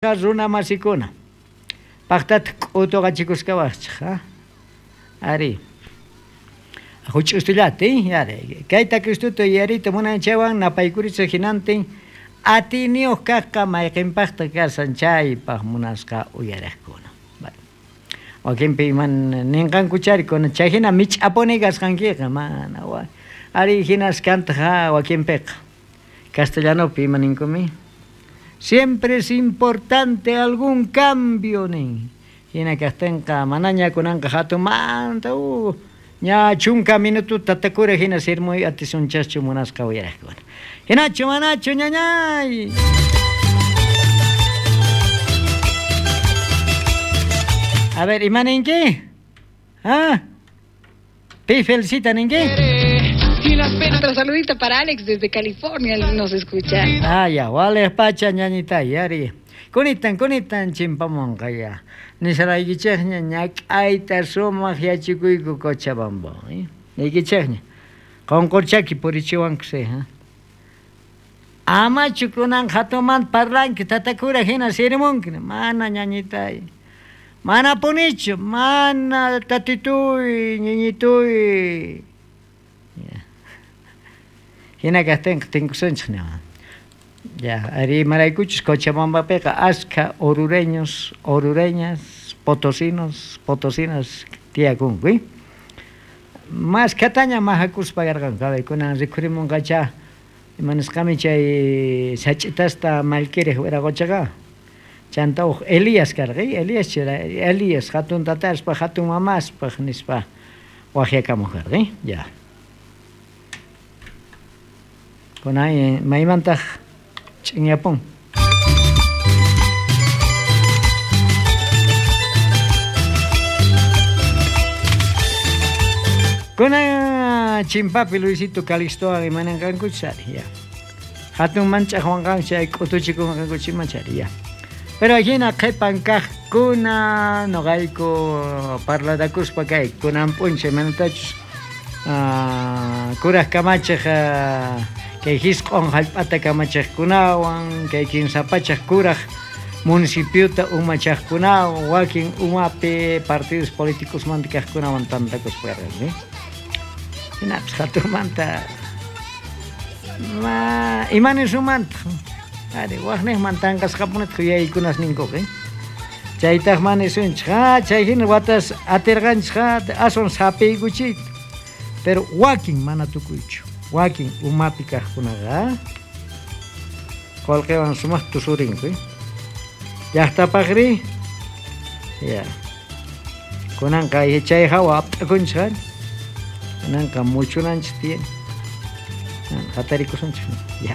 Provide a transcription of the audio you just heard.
Runa masikuna pajtataq k'utuqachikuskawaqchik ari huch'ustullata ari kayta Cristuta yuyariyta munan chaywan napaykurichik hinantin atiyniyuq kaqqa mayqinpaqtaq kashan chaypaq munasqa uyariqkuna. Wakinpi iman ninqankuchari kunan chay hina mich'apuni kasqankiqa mana ari hinas kantaq wakinpiqa castellanopi ima ninkumi siempre es importante algún cambio nin hina kaqtinqa manaña kunanqa hatunmanta ña 10 minututa tatakura hina sirmuy atisunchaschu munasqa uyariqkuna hinachu manachu ñañay. A ver, ima ninki? ¿Ah? Pi felicita ninki? Otro saludito para Alex desde California, nos escucha. Ah, ya, wale pacha ñañita, yari. Kunitan, kunitan chimpamonqa ya. Nisaraykichikña ñak'ayta sumaq yachikuyku Cochabamba, niykichikña. Qonqorchaki purichiwankusi, ha. Amachu kunan hatunmanta parlanki tatakura hina sirimunki, mana ñañitay. Mana punichu, mana tatituy, ñiñituy. Hina kaqtinqa tinkusunchik ña. Ya, ari imaraykuchus Cochabambapiqa askha orureños, orureñas, potosinos, potosinas tiyakunku, Maskhataña mahakuspa karqanku, a ver, kunan rikhurimunqacha imanisqami chay sach'itasta mallkiriq wiraqochaqa. Chanta uj Elías karqa, Elías chira, Elías hatun tataspaq, hatun mamaspaq nispa waqyakamuq karqa, ya. Kunan maymantaq ch'inyapun. Kunan chimpapi Luisito Calixtowan imananqankuchus ari, ya. Hatun manch'aqwanqanku chay k'utuchikunqankuchus imachari, ya. Pero hina qhipan kaqkuna noqayku parlarakuspa kay kunan p'unchay manatachus kuraq kamachiq kay hisq'on hallp'ata kamachiqkunawan kay 3 pachak kuraq municipiota umachaqkunawan wakin umapi partidos políticosmanta kaqkunawan tantakuspa karqanku. Hinapis hatunmanta ma imanisumantaq ari waqniqman tanqasqapunitaq yuyaykunas ninkuqa. Chaytaq manisunchik chay hina watas atirqanchik aswan sapiykuchiyta. Pero wakin mana tukuychu, wakin umapi kaqkunaqa qullqiwan sumaq tusurinku. Llaqtapaqri ya. Kunanqa chay hawa apt'akunchik kunanqa muchunanchik tiyan. Hatarikusunchik ya.